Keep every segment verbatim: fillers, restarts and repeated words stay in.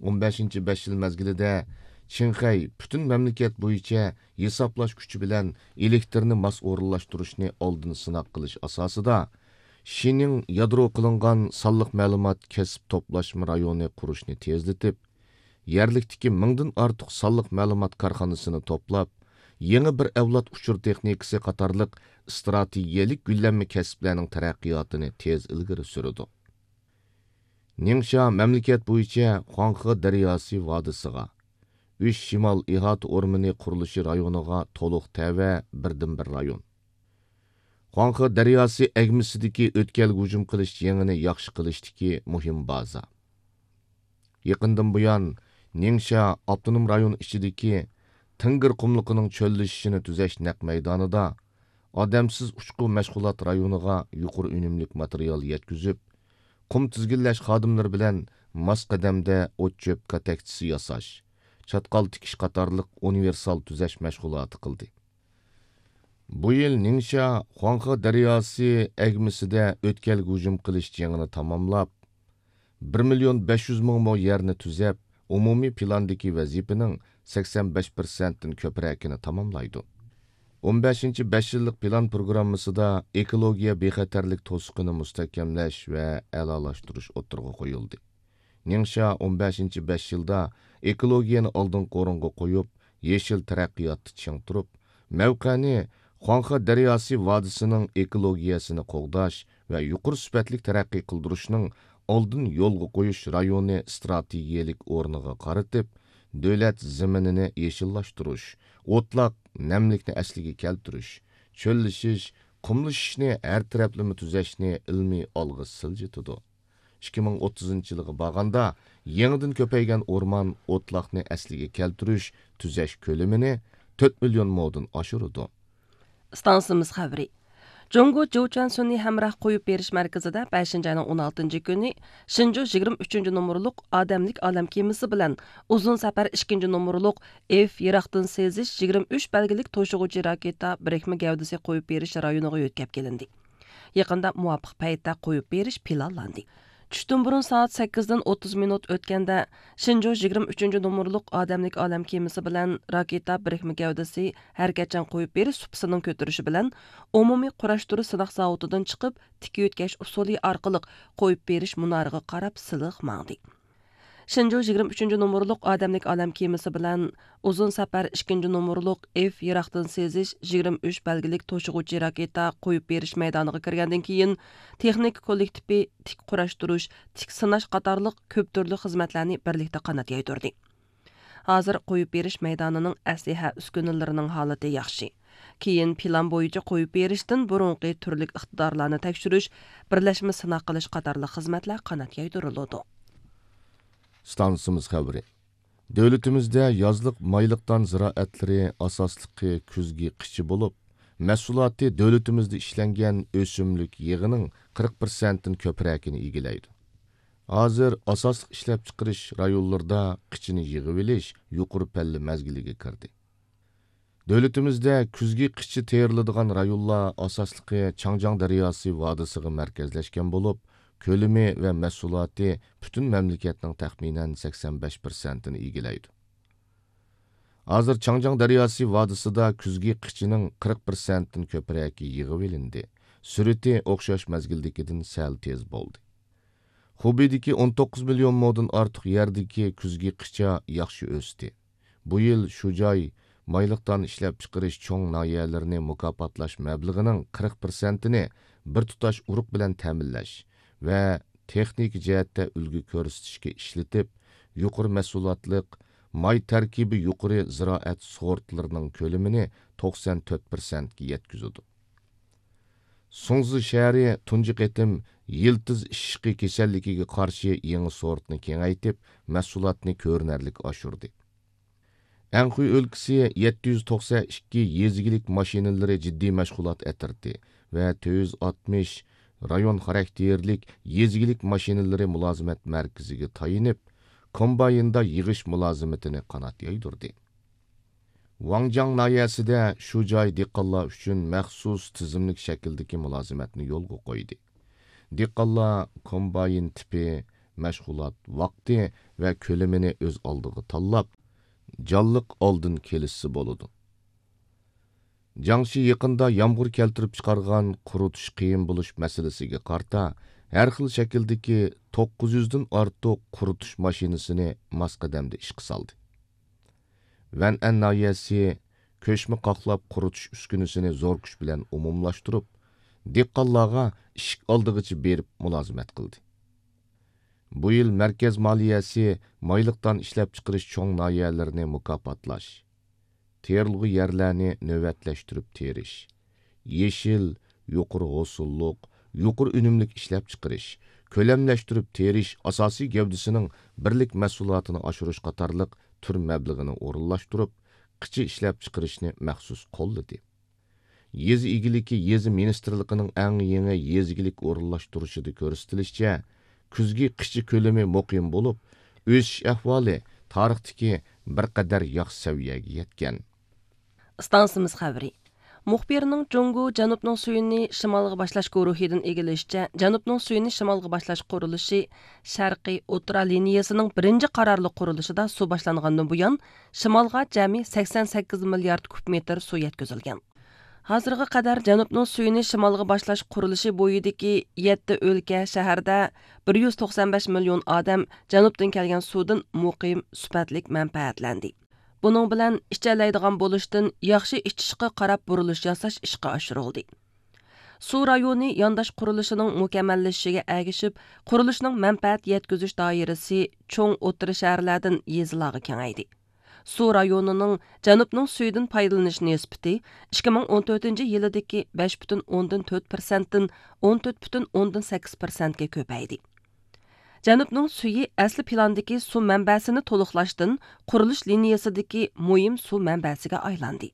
ئون بەشىنچى بەش يىل مەزگىلىدە چىڭخەي پۈتۈن مەملىكەت بويىچە ھېسابلاش كۈچى بىلەن ئېلېكتىرنى ماس ئورۇنلاشتۇرۇشنى ئالدىن سىناق قىلىش ئاساسىدا، شىنىڭ يادرو قىلىنغان سانلىق مەلۇمات كەسىپ توپلاشما رايونى قۇرۇشنى تېزلىتىپ، يەرلىكتىكى مىڭدىن ئارتۇق سانلىق مەلۇمات كارخانىسىنى توپلاپ، يېڭى بىر ئەۋلاد ئۇچۇر تېخنىكىسى قاتارلىق ئىستراتېگىيەلىك گۈللەنمە كەسىپلەرنىڭ تەرەققىياتىنى تېز ئىلگىرى سۈرىدۇ. نىڭشيا مەملىكەت بويىچە خۇاڭخې دەرياسى ۋادىسىغا، ئۈچ شىمال ئىھاتە ئورمىنى قۇرۇلۇشى رايونىغا تولۇق تەۋە بىردىنبىر رايون. خۇاڭخې دەرياسى ئەگمىسىدىكى ئۆتكەلگە ھۇجۇم قىلىش جېڭىنى ياخشى قىلىشتىكى مۇھىم بازا. يېقىندىن بۇيان، نىڭشيا ئاپتونوم رايون ئىچىدىكى تىڭگىر قۇملۇقىنىڭ چۆللىشىشىنى تۈزەش نەق مەيدانىدا ئادەمسىز ئۇچقۇ مەشغۇلات رايونىغا يۇقىرى ئۈنۈملۈك ماتېرىيال يەتكۈزۈپ، قۇم تىزگىنلەش خادىملىرى بىلەن ماس قەدەمدە ئوت-چۆپ كاتەكچىسى ياساش، چاتقال تىكىش قاتارلىق ئۇنىۋېرسال تۈزەش مەشغۇلاتى قىلدى. بۇ يىل نىڭشيا خۇاڭخې دەرياسى ئەگمىسىدە ئۆتكەلگە ھۇجۇم قىلىش جېڭىنى تاماملاپ، بىر مىليون بەش يۈز مىڭ مو يەرنى تۈزەپ، ئومۇمىي پىلاندىكى ۋەزىپىنىڭ سەكسەن بەش پىرسەنتتىن كۆپرەكىنى تاماملايدۇ. ئون بەشىنچى بەش يىللىق پىلان پروگراممىسىدا ئېكولوگىيە بىخەتەرلىك توسۇقىنى مۇستەھكەملەش ۋە ئەلالاشتۇرۇش ئوتتۇرىغا قويۇلدى. نىڭشيا ئون بەشىنچى بەش يىلدا ئېكولوگىيەنى ئالدىنقى ئورۇنغا قويۇپ، يېشىل تەرەققىياتتا چىڭ تۇرۇپ، مەۋقەنى خۇاڭخې دەرياسى ۋادىسىنىڭ ئېكولوگىيەسىنى قوغداش ۋە يۇقىرى سۈپەتلىك تەرەققىي قىلدۇرۇشنىڭ ئالدىن يولغا قويۇش رايونى ئىستراتېگىيەلىك ئورنىغا قارىتىپ، دۆلەت زېمىنىنى يېشىللاشتۇرۇش، ئوتلاق، نەملىكنى ئەسلىگە كەلتۈرۈش، چۆللىشىش، قۇملىشىشنى ھەر تەرەپلىمە تۈزەشنى ئىلمىي ئالغا سىلجىتىدۇ. ئىككى مىڭ ئوتتۇزىنچى يىلغا بارغاندا، يېڭىدىن كۆپەيگەن ئورمان، ئوتلاقنى ئەسلىگە كەلتۈرۈش، تۈزەش كۆلىمىنى تۆت مىليون مودىن ئاشۇرىدۇ. ئىستانسىمىز خەۋىرى. جۇڭگو جۇچەن سۈنئىي ھەمراھ قويۇپ بېرىش مەركىزىدە بەشىنچى ئاينىڭ ئون ئالتىنچى كۈنى شىنجۇ يىگىرمە ئۈچىنچى نومۇرلۇق ئادەملىك ئالەم كېمىسى بىلەن ئۇزۇن سەپەر ئىككىنچى نومۇرلۇق ئېف يىراقتىن سېزىش يىگىرمە ئۈچ بەلگىلىك توشۇغۇچى راكېتا بىرىكمە گەۋدىسى قويۇپ بېرىش رايونىغا يۆتكەپ كېلىندى. يېقىندا مۇۋاپىق پەيتتە قويۇپ بېرىش پىلانلاندى. چۈشتىن بۇرۇن سائەت سەككىزدىن ئوتتۇز مىنۇت ئۆتكەندە، شىنجۇ يىگىرمە ئۈچىنچى نومۇرلۇق ئادەملىك ئالەم كېمىسى بىلەن راكېتا بىرىكمە گەۋدىسى ھەرىكەتچان قويۇپ بېرىش سۇپىسىنىڭ كۆتۈرۈشى بىلەن ئومۇمىي قۇراشتۇرۇش سىناق زاۋۇتىدىن چىقىپ، تىك يۆتكەش ئۇسۇلى ئارقىلىق قويۇپ بېرىش مۇنارىغا قاراپ سىلىق ماڭدى. شىنجۇ يىگىرمە ئۈچىنچى نومۇرلۇق ئادەملىك ئالەم كېمىسى بىلەن ئۇزۇن سەپەر ئىككىنچى نومۇرلۇق ئېف يىراقتىن سېزىش يىگىرمە ئۈچ بەلگىلىك توشۇغۇچى راكېتا قويۇپ بېرىش مەيدانىغا كىرگەندىن كېيىن، تېخنىكا كوللېكتىپى تىك قۇراشتۇرۇش، تىك سىناش قاتارلىق كۆپ تۈرلۈك خىزمەتلەرنى بىرلىكتە قانات يايدۇردى. ھازىر قويۇپ بېرىش مەيدانىنىڭ ئەسلىھە ئۈسكۈنىلىرىنىڭ ھالىتى ياخشى. كېيىن پىلان بويىچە قويۇپ بېرىشتىن بۇرۇنقى تۈرلۈك ئىقتىدارلارنى تەكشۈرۈش، بىرلەشمە سىناق قىلىش قاتارلىق خىزمەتلەر قانات يايدۇرۇلىدۇ. ئىستانسىمىز خەۋىرى. دۆلىتىمىزدە يازلىق مايلىق دان زىرائەتلىرى ئاساسلىقى كۈزگى قىچا بولۇپ، مەھسۇلاتى دۆلىتىمىزدە ئىشلەنگەن ئۆسۈملۈك يېغىنىڭ قىرىق پىرسەنتتىن كۆپرەكىنى ئىگىلەيدۇ. ھازىر ئاساسلىق ئىشلەپچىقىرىش رايونلىرىدا قىچىنى يىغىۋېلىش يۇقىرى پەللە مەزگىلىگە كىردى. دۆلىتىمىزدە كۈزگى قىچا تېرىلىدىغان رايونلار ئاساسلىقى چاڭجياڭ دەرياسى ۋادىسىغا مەركەزلەشكەن بولۇپ، كۆلىمى ۋە مەھسۇلاتى پۈتۈن مەملىكەتنىڭ تەخمىنەن سەكسەن بەش پىرسەنتىنى ئىگىلەيدۇ. ھازىر چاڭجياڭ دەرياسى ۋادىسىدا كۈزگى قىچىنىڭ قىرىق پىرسەنتتىن كۆپرەكى يىغىۋېلىندى. سۈرئىتى ئوخشاش مەزگىلدىكىدىن سەل تېز بولدى. خۇبېيدىكى ئون توققۇز مىليون مودىن ئارتۇق يەردىكى كۈزگى قىچا ياخشى ئۆستى. بۇ يىل شۇ جاي مايلىق دان ئىشلەپچىقىرىش چوڭ ناھىيەلىرىنى مۇكاپاتلاش مەبلىغىنىڭ قىرىق پىرسەنتىنى بىر تۇتاش ئۇرۇق بىلەن تەمىنلەش ۋە تېخنىكا جەھەتتە ئۈلگە كۆرسىتىشكە ئىشلىتىپ، يۇقىرى مەھسۇلاتلىق، ماي تەركىبى يۇقىرى زىرائەت سورتلىرىنىڭ كۆلىمىنى توقسان تۆت پىرسەنتكە يەتكۈزىدۇ. سۇڭزى شەھىرى تۇنجى قېتىم يىلتىز ئىششىقى كېسەللىكىگە قارشى يېڭى سورتنى كېڭەيتىپ، مەھسۇلاتنى كۆرۈنەرلىك ئاشۇردى. ئەنخۇي ئۆلكىسى يەتتە يۈز توقسەن ئىككى يېزا ئىگىلىك ماشىنىلىرى جىددىي مەشغۇلات ئەترىتى ۋە تۆت يۈز ئاتمىش رايون خاراكتېرلىك يېزا ئىگىلىك ماشىنىلىرى مۇلازىمەت مەركىزىگە تايىنىپ، كومبايندا يىغىش مۇلازىمىتىنى قانات يايدۇردى. ۋاڭجاڭ ناھىيەسىدە شۇ جاي دېھقانلار ئۈچۈن مەخسۇس تىزىملىك شەكىلدىكى مۇلازىمەتنى يولغا قويدى. دېھقانلار كومباين تىپى، مەشغۇلات ۋاقتى ۋە كۆلىمىنى ئۆز ئالدىغا تاللاپ، جانلىق ئالدىن كېلىشسە بولىدۇ. جاڭشى يېقىندا يامغۇر كەلتۈرۈپ چىقارغان قۇرۇتۇش قىيىن بولۇش مەسىلىسىگە قارىتا، ھەر خىل شەكىلدىكى توققۇز يۈزدىن ئارتۇق قۇرۇتۇش ماشىنىسىنى ماس قەدەمدە ئىشقا سالدى. ۋەنئەن ناھىيەسى كۆچمە قاقلاپ قۇرۇتۇش ئۈسكۈنىسىنى زور كۈچ بىلەن ئومۇملاشتۇرۇپ، دېھقانلارغا ئىشىك ئالدىغىچە بېرىپ مۇلازىمەت قىلدى. بۇ يىل مەركەز مالىيەسى مايلىقتان ئىشلەپچىقىرىش چوڭ ناھىيەلىرىنى مۇكاپاتلاش، تېرىلغۇ يەرلەرنى نۆۋەتلەشتۈرۈپ تېرىش، يېشىل، يۇقىرى ھوسۇللۇق، يۇقىرى ئۈنۈملۈك ئىشلەپچىقىرىش، كۆلەملەشتۈرۈپ تېرىش ئاساسىي گەۋدىسىنىڭ بىرلىك مەھسۇلاتىنى ئاشۇرۇش قاتارلىق تۈر مەبلىغىنى ئورۇنلاشتۇرۇپ، قىچا ئىشلەپچىقىرىشنى مەخسۇس قوللىدى. يېزا ئىگىلىكى يېزا مىنىستىرلىقىنىڭ ئەڭ يېڭى يېزا ئىگىلىك ئورۇنلاشتۇرۇشىدا كۆرسىتىلىشىچە، كۈزگى قىچا كۆلىمى مۇقىم بولۇپ، ئۆسۈش ئەھۋالى تارىختىكى بىر قەدەر ياخشى سەۋىيەگە يەتكەن. ئىستانسىمىز خەۋىرى. مۇخبىرنىڭ جۇڭگو جەنۇبنىڭ سۈيىنى شىمالغا باشلاش گۇرۇھىدىن ئىگىلىشىچە، جەنۇبنىڭ سۈيىنى شىمالغا باشلاش قۇرۇلۇشى شەرقىي ئوتتۇرا لىنىيەسىنىڭ بىرىنچى قارارلىق قۇرۇلۇشىدا سۇ باشلانغاندىن بۇيان، شىمالغا جەمئىي سەكسەن سەككىز مىليارد كۇب مېتىر سۇ يەتكۈزۈلگەن. ھازىرغا قەدەر جەنۇبنىڭ سۈيىنى شىمالغا باشلاش قۇرۇلۇشى بويىدىكى يەتتە ئۆلكە، شەھەردە بىر يۈز توقسان بەش مىليون ئادەم جەنۇبتىن كەلگەن سۇدىن مۇقىم، سۈپەتلىك مەنپەئەتلەندى. بۇنىڭ بىلەن ئىچەلەيدىغان بولۇشتىن ياخشى ئىچىشقا قاراپ بۇرۇلۇش ياساش ئىشقا ئاشۇرۇلدى. سۇ رايونى يانداش قۇرۇلۇشىنىڭ مۇكەممەللىشىشىگە ئەگىشىپ، قۇرۇلۇشنىڭ مەنپەئەت يەتكۈزۈش دائىرىسى چوڭ ئوتتۇرا شەھەرلەردىن يېزىلارغا كېڭەيدى. سۇ رايونىنىڭ جەنۇبنىڭ سۈيىدىن پايدىلىنىش نىسبىتى ئىككى مىڭ ئون تۆتىنچى يىلىدىكى بەش پۈتۈن ئوندىن تۆت پىرسەنتتىن ئون تۆت پۈتۈن ئوندىن سەككىز پىرسەنتكە كۆپەيدى. جەنۇبنىڭ سۈيى ئەسلى پىلاندىكى سۇ مەنبەسىنى تولۇقلاشتىن قۇرۇلۇش لىنىيەسىدىكى مۇھىم سۇ مەنبەسىگە ئايلاندى.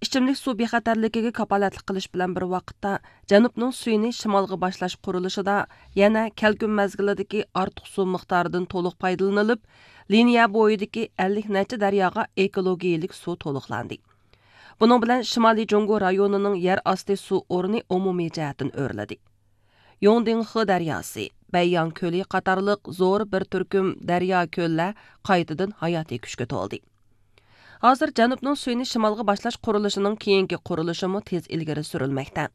ئىچىملىك سۇ بىخەتەرلىكىگە كاپالەتلىك قىلىش بىلەن بىر ۋاقىتتا، جەنۇبنىڭ سۈيىنى شىمالغا باشلاش قۇرۇلۇشىدا يەنە كەلكۈن مەزگىلىدىكى ئارتۇق سۇ مىقدارىدىن تولۇق پايدىلىنىلىپ، لىنىيە بويىدىكى ئەللىك نەچچە دەرياغا ئېكولوگىيىلىك سۇ تولۇقلاندى. بۇنىڭ بىلەن شىمالىي جۇڭگو رايونىنىڭ يەر ئاستى سۇ ئورنى ئومۇمىي جەھەتتىن ئۆرلىدى. يوڭدىڭخې دەرياسى، بەيياڭ كۆلى قاتارلىق زور بىر تۈركۈم دەريا، كۆللەر قايتىدىن ھاياتىي كۈچكە تولدى. ھازىر جەنۇبنىڭ سۈيىنى شىمالغا باشلاش قۇرۇلۇشىنىڭ كېيىنكى قۇرۇلۇشىمۇ تېز ئىلگىرى سۈرۈلمەكتە.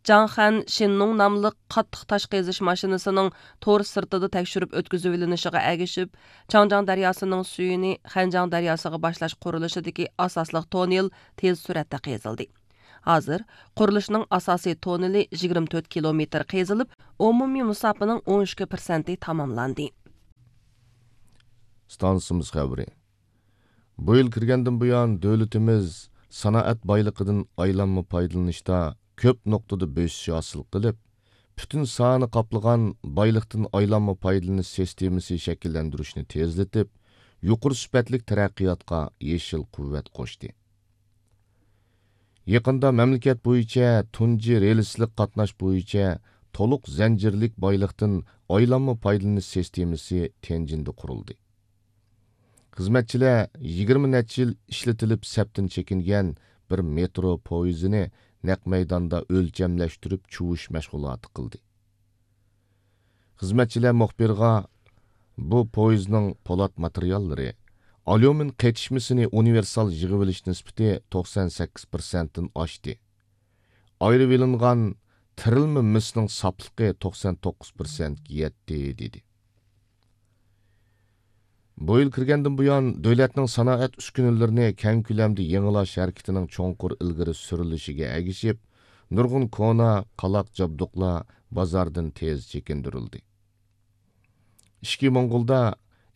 جاڭخەن شىننۇڭ ناملىق قاتتىق تاش قېزىش ماشىنىسىنىڭ تور سىرتىدا تەكشۈرۈپ ئۆتكۈزۈۋېلىنىشىغا ئەگىشىپ، چاڭجياڭ دەرياسىنىڭ سۈيىنى خەنجياڭ دەرياسىغا باشلاش قۇرۇلۇشىدىكى ئاساسلىق توننېل تېز سۈرئەتتە قېزىلدى. ھازىر قۇرۇلۇشنىڭ ئاساسىي توننېلى يىگىرمە تۆت كىلومېتىر قېزىلىپ، ئومۇمىي مۇساپىنىڭ ئون ئىككى پىرسەنتى تاماملاندى. ئىستانسىمىز خەۋىرى. بۇ يىل كىرگەندىن بۇيان، دۆلىتىمىز سانائەت بايلىقىدىن ئايلانما پايدىلىنىشتا كۆپ نۇقتىدا بۆسۈش ھاسىل قىلىپ، پۈتۈن ساھەنى قاپلىغان بايلىقتىن ئايلانما پايدىلىنىش سىستېمىسى شەكىللەندۈرۈشنى تېزلىتىپ، يۇقىرى سۈپەتلىك تەرەققىياتقا يېشىل قۇۋۋەت قوشتى. يېقىندا مەملىكەت بويىچە تۇنجى رېلىسلىق قاتناش بويىچە تولۇق زەنجىرلىك بايلىقتىن ئايلانما پايدىلىنىش سىستېمىسى تيەنجىندە قۇرۇلدى. خىزمەتچىلەر يىگىرمە نەچچە يىل ئىشلىتىلىپ سەپتىن چېكىنگەن بىر مېترو پويىزىنى نەق مەيداندا ئۆلچەملەشتۈرۈپ چۇۋۇش مەشغۇلاتى قىلدى. خىزمەتچىلەر مۇخبىرغا، بۇ پويىزنىڭ پولات ماتېرىياللىرى، ئاليۇمىن قېتىشمىسىنى ئۇنىۋېرسال يىغىۋېلىش نىسبىتى توقسان سەككىز پىرسەنتتىن ئاشتى. ئايرىۋېلىنغان تىرىلما مىسنىڭ ساپلىقى توقسان توققۇز پىرسەنتكە يەتتى، دېدى. بۇ يىل كىرگەندىن بۇيان، دۆلەتنىڭ سانائەت ئۈسكۈنىلىرىنى كەڭ كۆلەمدە يېڭىلاش ھەرىكىتىنىڭ چوڭقۇر ئىلگىرى سۈرۈلۈشىگە ئەگىشىپ، نۇرغۇن كونا، قالاق جابدۇقلار بازاردىن تېز چېكىندۈرۈلدى. ئىچكى موڭغۇلدا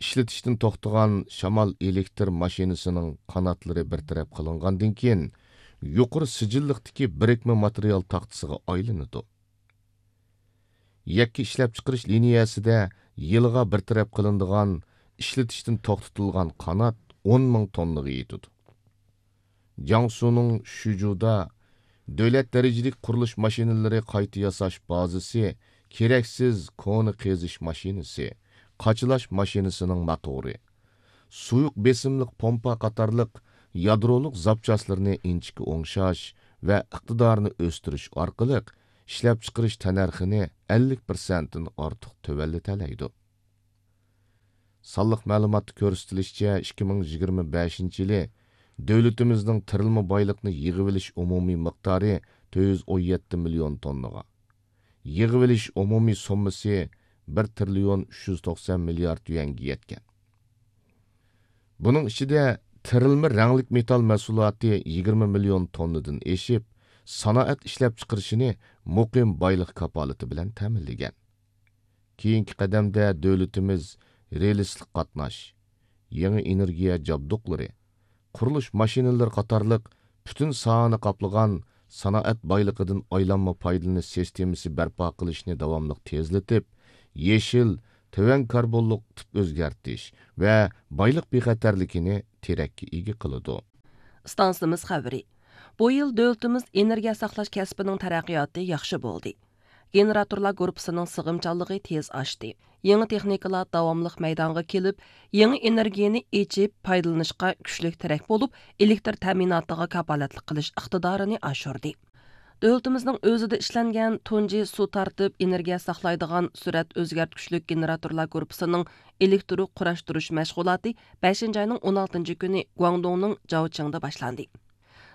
ئىشلىتىشتىن توختىغان شامال ئېلېكتر ماشىنىسىنىڭ قاناتلىرى بىر تەرەپ قىلىنغاندىن كېيىن، يۇقىرى سىجىللىقتىكى بىرىكمە ماتېرىيال تاختىسىغا ئايلىنىدۇ. يەككە ئىشلەپچىقىرىش لىنىيەسىدە يىلىغا بىر تەرەپ قىلىنىدىغان ئىشلىتىشتىن توختىتىلغان قانات ئون مىڭ توننىغا يېتىدۇ. جياڭسۇنىڭ شۈجۇدا دۆلەت دەرىجىلىك قۇرۇلۇش ماشىنىلىرى قايتا ياساش بازىسى كېرەكسىز كونا قېزىش ماشىنىسى، قاچىلاش ماشىنىسىنىڭ موتورى، سۇيۇق بېسىملىق پومپا قاتارلىق يادرولۇق زاپچاسلىرىنى ئىنچىكە ئوڭشاش ۋە ئىقتىدارىنى ئۆستۈرۈش ئارقىلىق ئىشلەپچىقىرىش تەننەرخىنى ئەللىك پىرسەنتتىن ئارتۇق تۆۋەنلىتەلەيدۇ. سانلىق مەلۇماتتا كۆرسىتىلىشىچە، ئىككى مىڭ يىگىرمە بەشىنچى يىلى دۆلىتىمىزنىڭ تىرىلما بايلىقنى يىغىۋېلىش ئومۇمىي مىقدارى تۆت يۈز ئون يەتتە مىليون توننىغا، يىغىۋېلىش ئومۇمىي سوممىسى بىر تىرىليون ئۈچ يۈز توقسان مىليارد يۈەنگە يەتكەن. بۇنىڭ ئىچىدە تىرىلما رەڭلىك مېتال مەھسۇلاتى يىگىرمە مىليون توننىدىن ئېشىپ، سانائەت ئىشلەپچىقىرىشىنى مۇقىم بايلىق كاپالىتى بىلەن تەمىنلىگەن. كېيىنكى قەدەمدە دۆلىتىمىز رېلىسلىق قاتناش، يېڭى ئېنېرگىيە جابدۇقلىرى، قۇرۇلۇش ماشىنىلىرى قاتارلىق پۈتۈن ساھەنى قاپلىغان سانائەت بايلىقىدىن ئايلانما پايدىلىنىش سىستېمىسى بەرپا قىلىشنى داۋاملىق تېزلىتىپ، يېشىل، تۆۋەن كاربونلۇق تىپ ئۆزگەرتىش ۋە بايلىق بىخەتەرلىكىنى تىرەككە ئىگە قىلىدۇ. ئىستانسىمىز خەۋىرى. بۇ يىل دۆلىتىمىز ئېنېرگىيە ساقلاش كەسپىنىڭ تەرەققىياتى ياخشى بولدى. گېنېراتورلار گۇرۇپپىسىنىڭ سىغىمچانلىقى تېز ئاشتى. يېڭى تېخنىكىلار داۋاملىق مەيدانغا كېلىپ، يېڭى ئېنېرگىيەنى ئېچىپ پايدىلىنىشقا كۈچلۈك تىرەك بولۇپ، ئېلېكتر تەمىناتىغا كاپالەتلىك قىلىش ئىقتىدارىنى ئاشۇردى. دۆلىتىمىزنىڭ ئۆزىدە ئىشلەنگەن تۇنجى سۇ تارتىپ ئېنېرگىيە ساقلايدىغان سۈرئەت ئۆزگەرتكۈچلۈك گېنېراتورلار گۇرۇپپىسىنىڭ ئېلېكتىرو قۇراشتۇرۇش مەشغۇلاتى بەشىنچى ئاينىڭ ئون ئالتىنچى كۈنى گۇاڭدۇڭنىڭ جاۋچىڭدا باشلاندى.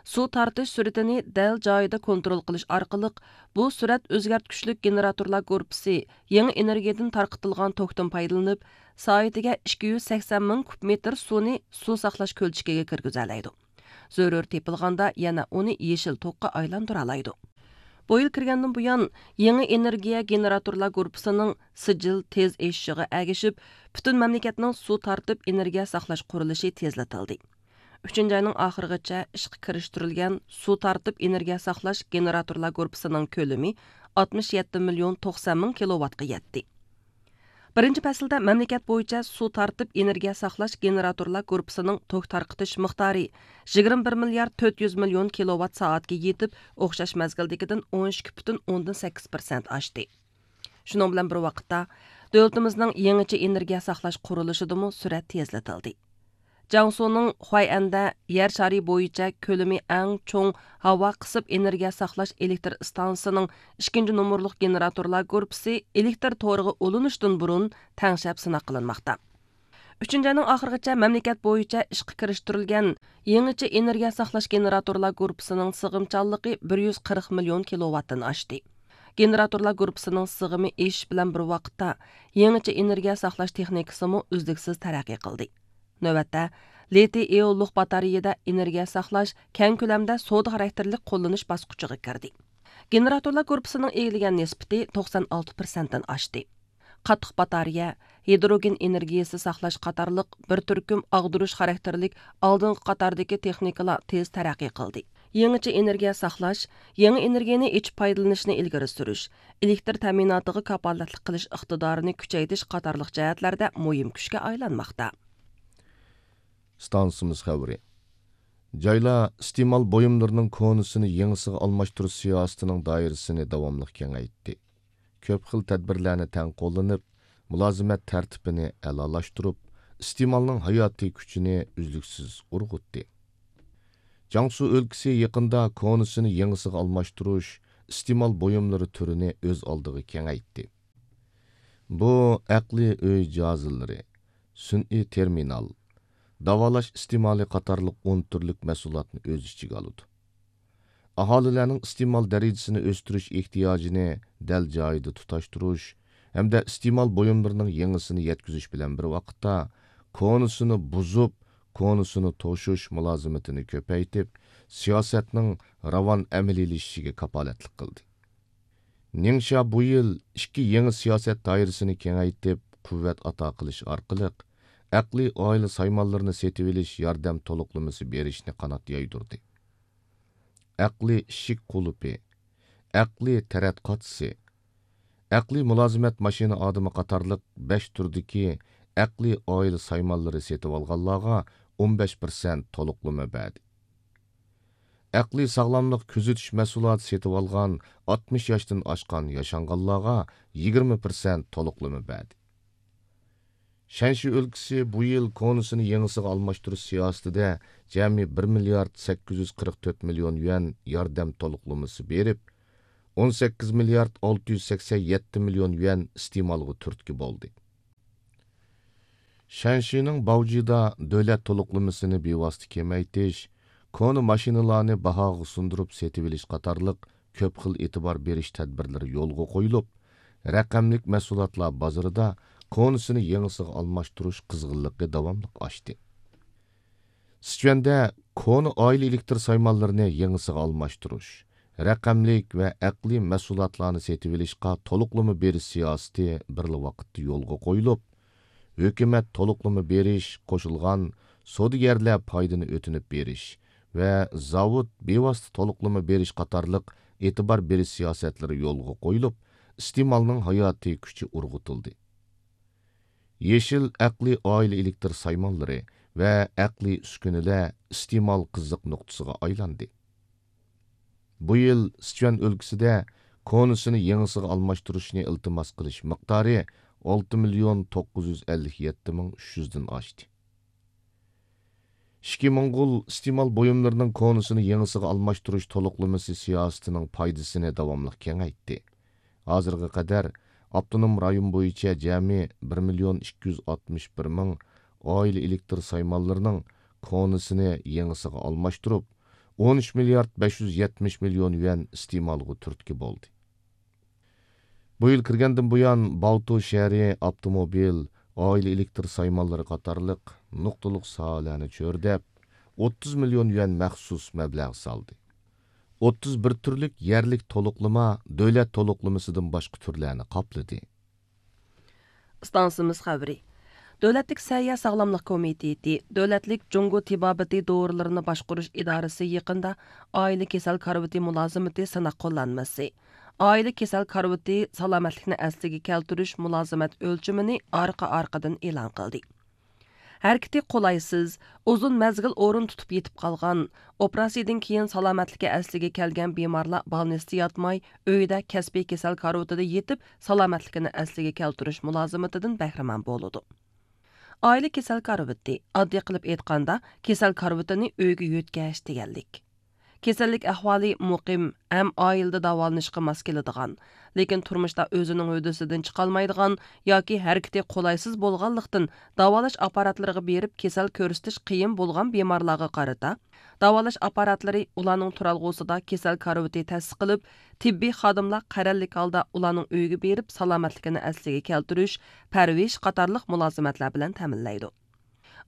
سۇ تارتىش سۈرئىتىنى دەل جايىدا كونترول قىلىش ئارقىلىق، بۇ سۈرئەت ئۆزگەرتكۈچلۈك گېنېراتورلار گۇرۇپپىسى يېڭى ئېنېرگىيەدىن تارقىتىلغان توكتىن پايدىلىنىپ، سائىتىگە ئىككى يۈز سەكسەن مىڭ كۇب مېتىر سۇنى سۇ ساقلاش كۆلچىكىگە كىرگۈزەلەيدۇ. زۆرۈر تېپىلغاندا يەنە ئۇنى يېشىل توكقا ئايلاندۇرالايدۇ. بۇ يىل كىرگەندىن بۇيان، يېڭى ئېنېرگىيە گېنېراتورلار گۇرۇپپىسىنىڭ سىجىل تېز ئېشىشىغا ئەگىشىپ، پۈتۈن مەملىكەتنىڭ سۇ تارتىپ ئېنېرگىيە ساقلاش قۇرۇلۇشى تېزلىتىلدى. ئۈچىنچى ئاينىڭ ئاخىرىغىچە ئىشقا كىرىشتۈرۈلگەن سۇ تارتىپ ئېنېرگىيە ساقلاش گېنېراتورلار گۇرۇپپىسىنىڭ كۆلىمى ئاتمىش يەتتە مىليون توقسان مىڭ كىلوۋاتقا يەتتى. بىرىنچى پەسىلدە مەملىكەت بويىچە سۇ تارتىپ ئېنېرگىيە ساقلاش گېنېراتورلار گۇرۇپپىسىنىڭ توك تارقىتىش مىقدارى يىگىرمە بىر مىليارد تۆت يۈز مىليون كىلوۋات سائەتكە يېتىپ، ئوخشاش مەزگىلدىكىدىن ئون ئىككى پۈتۈن ئوندىن سەككىز پىرسەنت ئاشتى. شۇنىڭ بىلەن بىر ۋاقىتتا، دۆلىتىمىزنىڭ يېڭىچە ئېنېرگىيە ساقلاش قۇرۇلۇشىدىمۇ سۈرئەت تېزلىتىلدى. جياڭسۇنىڭ خۇەيئەندە يەر شارى بويىچە كۆلىمى ئەڭ چوڭ ھاۋا قىسىپ ئېنېرگىيە ساقلاش ئېلېكتر ئىستانسىسىنىڭ ئىككىنچى نومۇرلۇق گېنېراتورلار گۇرۇپپىسى ئېلېكتر تورىغا ئۇلىنىشتىن بۇرۇن تەڭشەپ سىناق قىلىنماقتا. ئۈچىنچى ئاينىڭ ئاخىرىغىچە مەملىكەت بويىچە ئىشقا كىرىشتۈرۈلگەن يېڭىچە ئېنېرگىيە ساقلاش گېنېراتورلار گۇرۇپپىسىنىڭ سىغىمچانلىقى بىر يۈز قىرىق مىليون كىلوۋاتتىن ئاشتى. گېنېراتورلار گۇرۇپپىسىنىڭ سىغىمى ئېشىش بىلەن بىر ۋاقىتتا، يېڭىچە ئېنېرگىيە ساقلاش تېخنىكىسىمۇ ئۈزلۈكسىز تەرەققىي قىلدى. نۆۋەتتە، لىتىي ئىئونلۇق باتارېيىدە ئېنېرگىيە ساقلاش كەڭ كۆلەمدە سودا خاراكتېرلىك قوللىنىش باسقۇچىغا كىردى. گېنېراتورلار گۇرۇپپىسىنىڭ ئىگىلىگەن نىسبىتى توقسان ئالتە پىرسەنتتىن ئاشتى. قاتتىق باتارېيە، ھىدروگېن ئېنېرگىيىسى ساقلاش قاتارلىق بىر تۈركۈم ئاغدۇرۇش خاراكتېرلىك ئالدىنقى قاتاردىكى تېخنىكىلار تېز تەرەققىي قىلدى. يېڭىچە ئېنېرگىيە ساقلاش، يېڭى ئېنېرگىيەنى ئېچىپ پايدىلىنىشنى ئىلگىرى سۈرۈش، ئېلېكتر تەمىناتىغا كاپالەتلىك قىلىش ئىقتىدارىنى كۈچەيتىش قاتارلىق جەھەتلەردە مۇھىم كۈچكە ئايلانماقتا. ئىستانسىمىز خەۋىرى. جايلار ئىستېمال بۇيۇملىرىنىڭ كونىسىنى يېڭىسىغا ئالماشتۇرۇش سىياسىتىنىڭ دائىرىسىنى داۋاملىق كېڭەيتتى. كۆپ خىل تەدبىرلەرنى تەڭ قوللىنىپ، مۇلازىمەت تەرتىپىنى ئەلالاشتۇرۇپ، ئىستېمالنىڭ ھاياتىي كۈچىنى ئۈزلۈكسىز ئۇرغۇتتى. جياڭسۇ ئۆلكىسى يېقىندا كونىسىنى يېڭىسىغا ئالماشتۇرۇش، ئىستېمال بۇيۇملىرى تۈرىنى ئۆز ئالدىغا كېڭەيتتى. بۇ ئەقلىي ئۆي جاھازلىرى، سۈنئىي تېرمىنال، داۋالاش ئىستېمالى قاتارلىق ئون تۈرلۈك مەھسۇلاتنى ئۆز ئىچىگە ئالىدۇ. ئاھالىلەرنىڭ ئىستېمال دەرىجىسىنى ئۆستۈرۈش ئېھتىياجىنى دەل جايىدا تۇتاشتۇرۇش ھەمدە ئىستېمال بۇيۇملىرىنىڭ يېڭىسىنى يەتكۈزۈش بىلەن بىر ۋاقىتتا، كونىسىنى بۇزۇپ، كونىسىنى توشۇش مۇلازىمىتىنى كۆپەيتىپ، سىياسەتنىڭ راۋان ئەمەلىيلىشىشىگە كاپالەتلىك قىلدى. نىڭشيا بۇ يىل ئىككى يېڭى سىياسەت دائىرىسىنى كېڭەيتىپ، قۇۋۋەت ئاتا قىلىش ئارقىلىق، ئەقلىي ئائىلە سايمانلىرىنى سېتىۋېلىش ياردەم تولۇقلىمىسى بېرىشنى قانات يايدۇردى. ئەقلىي ئىشىك قۇلۇپى، ئەقلىي تەرەت قاچىسى، ئەقلىي مۇلازىمەت ماشىنا ئادىمى قاتارلىق بەش تۈردىكى ئەقلىي ئائىلە سايمانلىرى سېتىۋالغانلارغا ئون بەش پىرسەنت تولۇقلىما بەردى. ئەقلىي ساغلاملىق كۆزىتىش مەھسۇلاتى سېتىۋالغان ئاتمىش ياشتىن ئاشقان ياشانغانلارغا يىگىرمە پىرسەنت تولۇقلىما بەردى. شەنشى ئۆلكىسى بۇ يىل كونىسىنى يېڭىسىغا ئالماشتۇرۇش سىياسىتىدە جەمئىي بىر مىليارد سەككىز يۈز قىرىق تۆت مىليون يۈەن ياردەم تولۇقلىمىسى بېرىپ، ئون سەككىز مىليارد ئالتە يۈز سەكسەن يەتتە مىليون يۈەن ئىستېمالغا تۈرتكە بولدى. شەنشىنىڭ باۋجىدا دۆلەت تولۇقلىمىسىنى بىۋاسىتە كېمەيتىش، كونا ماشىنىلارنى باھاغا سۇندۇرۇپ سېتىۋېلىش قاتارلىق كۆپ خىل ئېتىبار بېرىش تەدبىرلىرى يولغا قويۇلۇپ، رەقەملىك مەھسۇلاتلار بازىرىدا كونىسىنى يېڭىسىغا ئالماشتۇرۇش قىزغىنلىقى داۋاملىق ئاشتى. سىچۈەندە كونا ئائىلە ئېلېكتر سايمانلىرىنى يېڭىسىغا ئالماشتۇرۇش، رەقەملىك ۋە ئەقلىي مەھسۇلاتلارنى سېتىۋېلىشقا تولۇقلىما بېرىش سىياسىتى بىرلا ۋاقىتتا يولغا قويۇلۇپ، ھۆكۈمەت تولۇقلىما بېرىش، قوشۇلغان سودىگەرلەر پايدىنى ئۆتۈنۈپ بېرىش ۋە زاۋۇت بىۋاسىتە تولۇقلىما بېرىش قاتارلىق ئېتىبار بېرىش سىياسەتلىرى يولغا قويۇلۇپ، ئىستېمالنىڭ ھاياتىي كۈچى ئۇرغۇتۇلدى. يېشىل ئەقلىي ئائىلە ئېلېكتر سايمانلىرى ۋە ئەقلىي ئۈسكۈنىلەر ئىستېمال قىزىق نۇقتىسىغا ئايلاندى. بۇ يىل سىچۈەن ئۆلكىسىدە كونىسىنى يېڭىسىغا ئالماشتۇرۇشنى ئىلتىماس قىلىش مىقدارى ئالتە مىليون توققۇز يۈز ئەللىك يەتتە مىڭ ئۈچ يۈزدىن ئاشتى. ئىچكى موڭغۇل ئىستېمال بۇيۇملىرىنىڭ كونىسىنى يېڭىسىغا ئالماشتۇرۇش تولۇقلىمىسى سىياسىتىنىڭ پايدىسىنى داۋاملىق كېڭەيتتى. ھازىرغا قەدەر ئاپتونوم رايون بويىچە جەمئىي بىر مىليون ئىككى يۈز ئاتمىش بىر مىڭ ئائىلە ئېلېكتر سايمانلىرىنىڭ كونىسىنى يېڭىسىغا ئالماشتۇرۇپ، ئون ئۈچ مىليارد بەش يۈز يەتمىش مىليون يۈەن ئىستېمالغا تۈرتكە بولدى. بۇ يىل كىرگەندىن بۇيان، باۋتۇ شەھىرى ئاپتوموبىل، ئائىلە ئېلېكتر سايمانلىرى قاتارلىق نۇقتىلىق ساھەلەرنى چۆرىدەپ، ئوتتۇز مىليون يۈەن مەخسۇس مەبلەغ سالدى. ئوتتۇز بىر تۈرلۈك يەرلىك تولۇقلىما دۆلەت تولۇقلىمىسىدىن باشقا تۈرلەرنى قاپلىدى. ئىستانسىمىز خەۋىرى. دۆلەتلىك سەھىيە ساغلاملىق كومىتېتى، دۆلەتلىك جۇڭگو تېبابىتى دورىلىرىنى باشقۇرۇش ئىدارىسى يېقىندا ئائىلە كېسەل كارىۋىتى مۇلازىمىتى سىناق قوللانمىسى، ئائىلە كېسەل كارىۋىتى سالامەتلىكنى ئەسلىگە كەلتۈرۈش مۇلازىمەت ئۆلچىمىنى ئارقا-ئارقىدىن ئېلان قىلدى. ھەرىكىتى قولايسىز، ئۇزۇن مەزگىل ئورۇن تۇتۇپ يېتىپ قالغان، ئوپېراتسىيىدىن كېيىن سالامەتلىكى ئەسلىگە كەلگەن بىمارلار بالنىستتا ياتماي، ئۆيىدە كەسپىي كېسەل كارىۋىتىدا يېتىپ، سالامەتلىكىنى ئەسلىگە كەلتۈرۈش مۇلازىمىتىدىن بەھرىمەن بولىدۇ. ئائىلە كېسەل كارىۋىتى، ئاددىي قىلىپ ئېيتقاندا، كېسەل كارىۋىتىنى ئۆيگە يۆتكەش دېگەنلىك. كېسەللىك ئەھۋالى مۇقىم ھەم ئائىلىدە داۋالىنىشقا ماس كېلىدىغان، لېكىن تۇرمۇشتا ئۆزىنىڭ ھۆددىسىدىن چىقالمايدىغان ياكى ھەرىكىتى قولايسىز بولغانلىقتىن، داۋالاش ئاپپاراتلىرىغا بېرىپ كېسەل كۆرسىتىش قىيىن بولغان بىمارلارغا قارىتا، داۋالاش ئاپپاراتلىرى ئۇلارنىڭ تۇرالغۇسىدا كېسەل كارىۋىتى تەسىس قىلىپ، تېببىي خادىملار قەرەللىك ھالدا ئۇلارنىڭ ئۆيىگە بېرىپ سالامەتلىكىنى ئەسلىگە كەلتۈرۈش، پەرۋىش قاتارلىق مۇلازىمەتلەر بىلەن تەمىنلەيدۇ.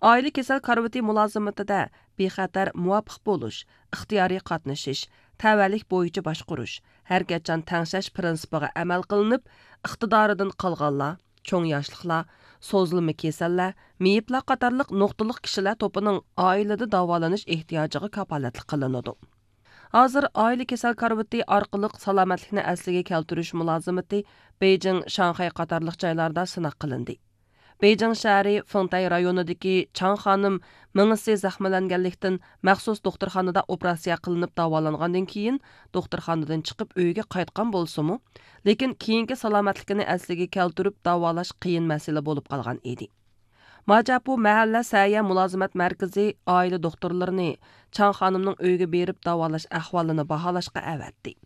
ئائىلە كېسەل كارىۋىتى مۇلازىمىتىدە بىخەتەر، مۇۋاپىق بولۇش، ئىختىيارىي قاتنىشىش، تەۋەلىك بويىچە باشقۇرۇش، ھەرىكەتچان تەڭشەش پىرىنسىپىغا ئەمەل قىلىنىپ، ئىقتىدارىدىن قالغانلار، چوڭ ياشلىقلار، سوزۇلما كېسەللەر، مېيىپلەر قاتارلىق نۇقتىلىق كىشىلەر توپىنىڭ ئائىلىدە داۋالىنىش ئېھتىياجىغا كاپالەتلىك قىلىنىدۇ. ھازىر ئائىلە كېسەل كارىۋىتى ئارقىلىق سالامەتلىكنى ئەسلىگە كەلتۈرۈش مۇلازىمىتى بېيجىڭ، شاڭخەي قاتارلىق جايلاردا سىناق قىلىندى. بېيجىڭ شەھىرى فېڭتەي رايونىدىكى چاڭ خانىم مېڭىسى زەخىملەنگەنلىكتىن، مەخسۇس دوختۇرخانىدا ئوپېراتسىيە قىلىنىپ داۋالانغاندىن كېيىن، دوختۇرخانىدىن چىقىپ ئۆيىگە قايتقان بولسىمۇ، لېكىن كېيىنكى سالامەتلىكىنى ئەسلىگە كەلتۈرۈپ داۋالاش قىيىن مەسىلە بولۇپ قالغان ئىدى. ماجاپۇ مەھەللە سەھىيە مۇلازىمەت مەركىزى ئائىلە دوختۇرلىرىنى چاڭ خانىمنىڭ ئۆيىگە بېرىپ داۋالاش ئەھۋالىنى باھالاشقا ئەۋەتتى.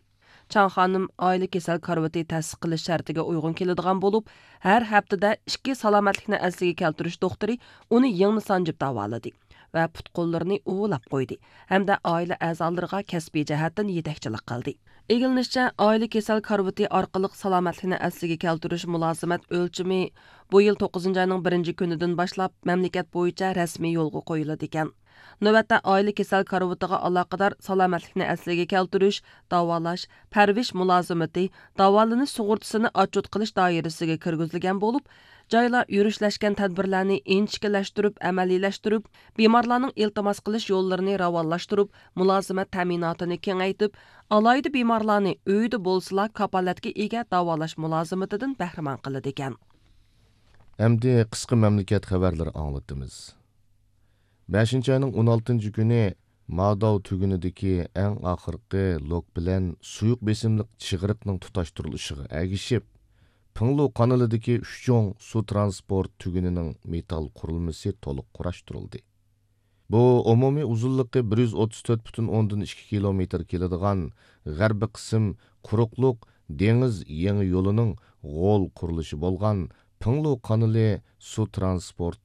چاڭ خانىم ئائىلە كېسەل كارىۋىتى تەسىس قىلىش شەرتىگە ئۇيغۇن كېلىدىغان بولۇپ، ھەر ھەپتىدە ئىككى سالامەتلىكنى ئەسلىگە كەلتۈرۈش دوختۇرى ئۇنى يىڭنە سانجىپ داۋالىدى ۋە پۇت-قوللىرىنى ئۇۋىلاپ قويدى ھەمدە ئائىلە ئەزالىرىغا كەسپىي جەھەتتىن يېتەكچىلىك قىلدى. ئىگىلىنىشىچە، ئائىلە كېسەل كارىۋىتى ئارقىلىق سالامەتلىكنى ئەسلىگە كەلتۈرۈش مۇلازىمەت ئۆلچىمى بۇ يىل توققۇزىنچى ئاينىڭ بىرىنچى كۈنىدىن باشلاپ مەملىكەت بويىچە رەسمىي يولغا قويۇلىدىكەن. نۆۋەتتە ئائىلە كېسەل كارىۋىتىغا ئالاقىدار سالامەتلىكنى ئەسلىگە كەلتۈرۈش، داۋالاش، پەرۋىش مۇلازىمىتى، داۋالىنىش سۇغۇرتىسىنى ئاتچوت قىلىش دائىرىسىگە كىرگۈزۈلگەن بولۇپ، جايلار يۈرۈشلەشكەن تەدبىرلەرنى ئىنچىكىلەشتۈرۈپ ئەمەلىيلەشتۈرۈپ، بىمارلارنىڭ ئىلتىماس قىلىش يوللىرىنى راۋانلاشتۇرۇپ، مۇلازىمەت تەمىناتىنى كېڭەيتىپ، ئالاھىدە بىمارلارنى ئۆيىدە بولسىلا كاپالەتكە ئىگە داۋالاش مۇلازىمىتىدىن بەھرىمەن قىلىدىكەن. ئەمدى قىسقا مەملىكەت خەۋەرلىرى ئاڭلىتىمىز. بەشىنچى ئاينىڭ ئون ئالتىنچى كۈنى ماداۋ تۈگۈنىدىكى ئەڭ ئاخىرقى لوك بىلەن سۇيۇق بېسىملىق چىغرىقنىڭ تۇتاشتۇرۇلۇشىغا ئەگىشىپ، پىڭلۇ قانىلىدىكى ئۈچ چوڭ سۇ ترانسپورت تۈگۈنىنىڭ مېتال قۇرۇلمىسى تولۇق قۇراشتۇرۇلدى. بۇ ئومۇمىي ئۇزۇنلۇقى بىر يۈز ئوتتۇز تۆت پۈتۈن ئوندىن ئىككى كىلومېتىر كېلىدىغان غەربىي قىسىم قۇرۇقلۇق دېڭىز يېڭى يولىنىڭ غول قۇرۇلۇشى بولغان پىڭلۇ قانىلى سۇ ترانسپورت